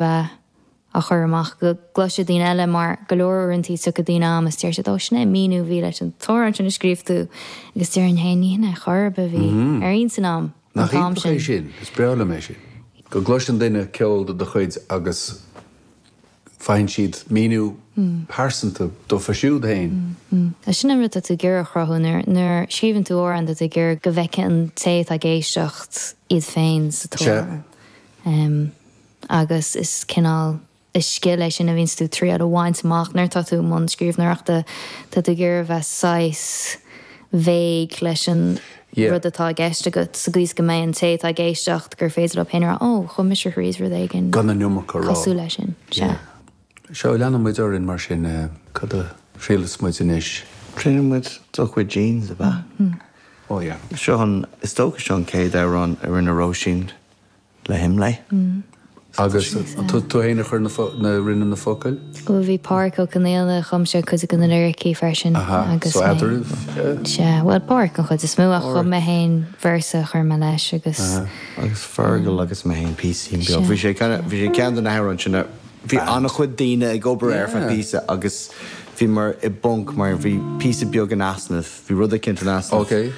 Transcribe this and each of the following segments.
bheith á chur amach go gcloisfidh daoine eile mar go leor uaireantaí tiocfaidh daoine chugam is deir siad 'Ó sin é an míniú a bhí leis an t-amhrán sin a scríobh tú' agus déarfainn 'Hey ní hin é chor ar bith a bhí ar intinn a'm an Nach t-am iontach é sin'. sin? Is breá liom é sin. Go gcloiseann duine ceol de do chuid agus faigheann siad míniú pearsanta dófa siúd féin. Sin an rud atá tú ag iarraidh a chruthú. Nuair a scríobhann tú amhrán tá tú ag iarraidh go bhfeicfidh an té atá ag éisteacht iad féin sa t-amhrán. Agus is cineál, is scil é sin a bhíonns tú ag triail a bhaint amach nuair atá tú i mbun scríbhneoireachta. Tá tú ag iarraidh a bheith saghas vague leis an rud atá i gceist agat sa gcaoi is go mbeidh an té atá ag éisteacht gur féidir leo féin a rá 'Ó, chuaigh mise thríd rud éigin Gan an iomarca a rá. cosúil leis sin. Sea. Seo, leanann muid orainn mar sin. Cad a thriailfeas muid anois? Triailfidh muid Do Chuid Jeans, ab ea? Oh yeah. Seo an, is dócha seo an chéad amhrán a rinne Róisín le hImlé. Agus tú féin a chuir na, rinne na focail? Bhuel bhí Pádhraic Ó Conghaile, chum sé cuid de na liricí freisin Aha, agus so mé, eadraibh? Sea, bhuel Pádhraic an chuid is mó ach chum mé féin véarsa a chuir mé leis agus. Aha. Agus Fergal agus mé féin píosaín beag. Sea. Bhí sé kind of, bhí sé ceann de na hamhráin sin a, bhí an-chuid daoine ag obair air feadh píosa agus bhíomar i bponc mar bhí píosa beag in easnamh, bhí rud eicínt in easnamh. Ok.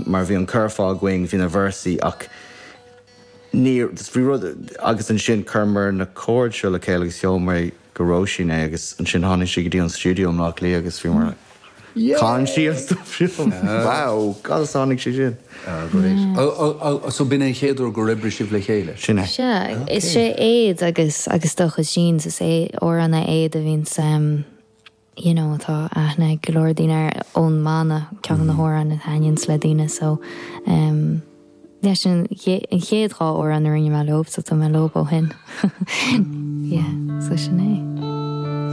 Mar bhí an curfá againn, bhí na véarsaí ach ní, bhí rud, agus ansin chuireamar na chords seo le chéile agus sheol mé go Róisín é agus ansin tháinig sí go dtí an stiúideo i mBleá Cliath agus bhíomar like, chan sí an stuff seo, wow, conas a tháinig sé sin? Ah great. So b'in é an chéad uair gur oibrigh sibh le chéile? Sin é. Sea, is é Éad agus agus Do Chuid Jeans, is é amhrán é Éad a bhíonns, you know tá aithne ag go leor daoine air ón mbanna, ceann de na hamhráin a thaitníonns le daoine so ehm yeah sin an chéad dhá amhrán a rinne mé leo so tá mé leo ó shin yeah so sin é.